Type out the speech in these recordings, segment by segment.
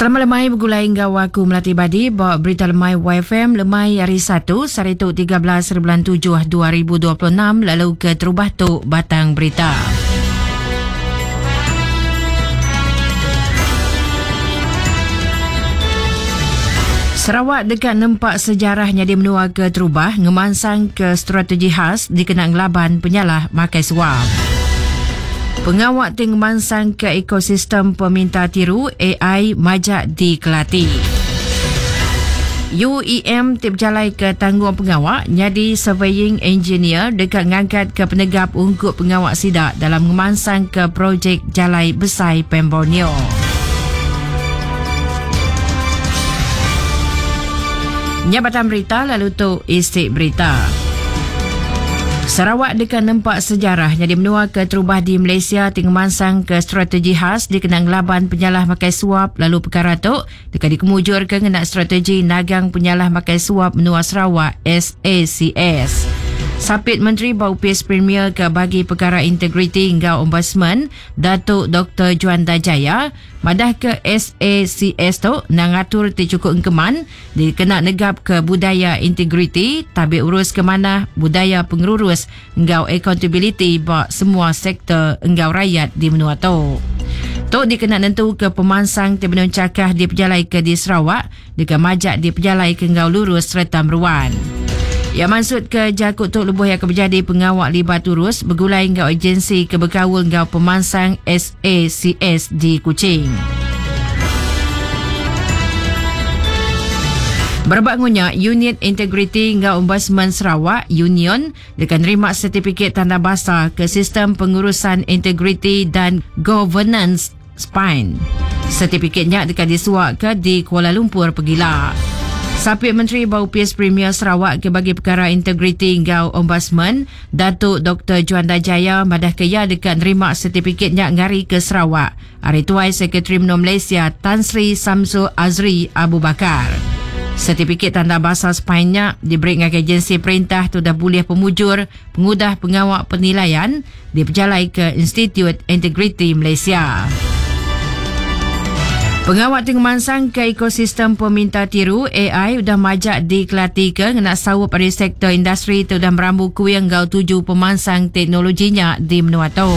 Selamat lemai begulai enggau aku Melati Badi ba Berita Lemai YFM lemai hari Satu sehari tu 13 bulan 7 2026 lalu ke terubah tu batang berita. Sarawak deka nempa sejarah nyadi menua ke terubah ngemansang ke strategi khas dikena ngelaban penyalah makai suap. Pengawa ti ngemansangka ekosistem peminta tiru ai majak dikelati. UEM ti bejalaika tanggungpengawa nyadi surveying engineer deka ngangkatka penegap ungkup pengawa sida dalam ngemansangka projek Jalai Besai Pan Borneo. Nya batang berita lalu tu isi berita. Sarawak deka nempa sejarah nyadi menua keterubah di Malaysia ti ngemansangka strategi khas dikena ngelaban penyalah makai suap lalu pekara tu deka dikemujurka ngena strategi nagang penyalah makai suap menua Sarawak SACS. Sapit Menteri ba Opis Premier ke Bagi Pekara Integriti enggau Ombudsman Datuk Doktor Juanda Jaya madahka SACS tu endang atur ti chukup engkeman dikena negapka budaya integriti, tabik urus ke manah, budaya pengerurus enggau akauntabiliti ba semua sektor enggau rayat di menua tu. Tu dikena nentuka pemansang ti benung chakah dipejalaika di Sarawak deka majak dipejalaika enggau lurus sereta meruan. Iya mansutka jaku tu lebuh iya ke bejadi pengawa libat urus begulai enggau ejensi ke bekaul enggau pemansang SACS di Kuching. Berebak ngunya, Unit Integriti enggau Ombudsman Sarawak, Union, deka nerima setipikit tanda basa ke Sistem Pengurusan Integriti dan Governance, Spine. Setipikit nya deka disuaka di Kuala Lumpur pegila. Sapit Menteri ba Opis Premier Sarawak ke bagi pekara integriti enggau Ombudsman, Datuk Doktor Juanda Jaya madahka iya deka nerima setipikit nya ngarika Sarawak ari Tuai Sekretari Menua Malaysia Tan Sri Samsul Azri Abu Bakar. Setipikit tanda basa Spine nya diberi ngagai agensi perintah ti udah bulih pemujur pengudah pengawa penilaian dipejalaika Institut Integriti Malaysia. Pengawa ti ngemansangka ekosistem peminta tiru ai udah majak dikelatika ngena saup ari sektor industri ti udah merambu kuing enggau tuju pemansang teknologi nya di menua tu.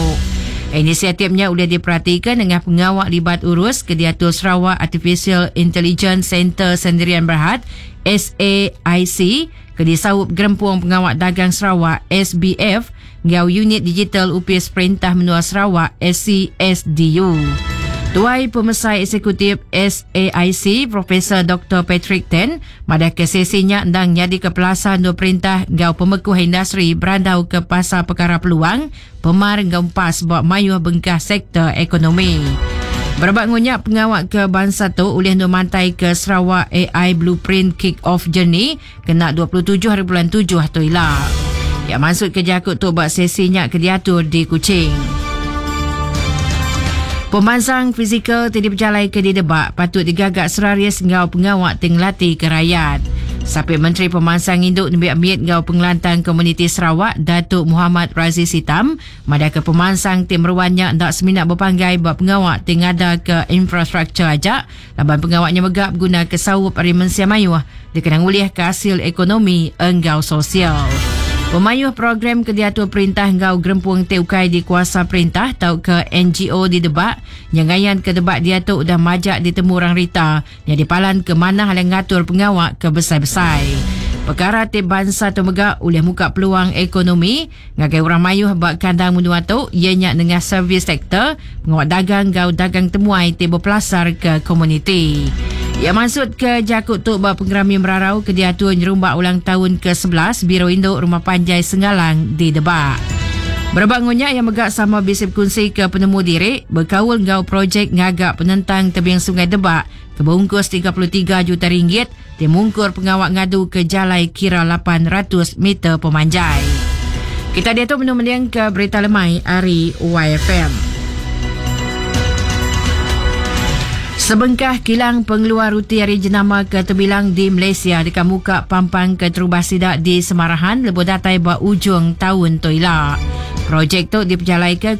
Inisiatif nya ulih diperatika nengah pengawa libat urus ke diatur Sarawak Artificial Intelligence Centre Sendirian Berhad, SAIC, ke disaup Gerempung Pengawa Dagang Sarawak, SBF, enggau Unit Digital Opis Perintah Menua Sarawak, SCSDU. Tuai Pemesai Eksekutif SAIC, Profesor Doktor Patrick Ten, madahka sesi nya endang nyadika pelasar endur perintah enggau pemekuh industri berandauka pasal pekara peluang, pemar enggau empas ba mayuh bengkah sektor ekonomi. Berebak enggau nya, pengawa ke bansa tu ulih endur mantaika Sarawak AI Blueprint Kick-Off Journey kena 27 hari bulan tujuh tu ila. Iya mansutka jaku tu ba sesi nya ke diatur di Kuching. Pemansang fizikal ti dipejalaika di Debak patut digaga seraris enggau pengawa ti ngelatika rayat. Sapit Menteri Pemansang Indu Nembiak Mit enggau Pengelantang Komuniti Sarawak Datuk Muhammad Razi Sitam madahka pemansang ti meruan nya enda semina bepanggai ba pengawa ti ngadaka infrastruktur aja Laban pengawa nya mega begunaka saup ari mensia mayuh dikena ngulihka asil ekonomi enggau sosial. Pemayuh program ke diatur perintah enggau gerempung ti ukai dikuasa perintah tauka NGO di Debak nya ngayanka Debak diatu udah majak ditemu orang rita nyadi palan ke manah alai ngatur pengawa ke besai-besai. Pekara ti bansa tu mega ulih muka peluang ekonomi Ngagai orang mayuh ba kandang menua tu iya nya nengah servis sektor pengawa dagang enggau dagang temuai ti bepelasarka komuniti. Iya mansutka jaku tu ba pengerami merarau ke diatur nyerumba ulang taun ke 11 Biro Indu Rumah Panjai Sengalang di Debak. Berebak enggau nya iya mega sama bisi bekunsika penemu diri bekaul enggau projek ngaga penentang tebing Sungai Debak ke beungkus 33 juta ringgit ti mungkur pengawa ngaduka jalai kira 800 meter pemanjai. Kita diatu menu mendingka berita lemai ari YFM. Sebengkah kilang pengeluar ruti ari jenama ke tebilang di Malaysia deka muka pampang keterubah sida di Semarahan lebuh datai ba ujung taun tu ila. Projek tu dipejalaika.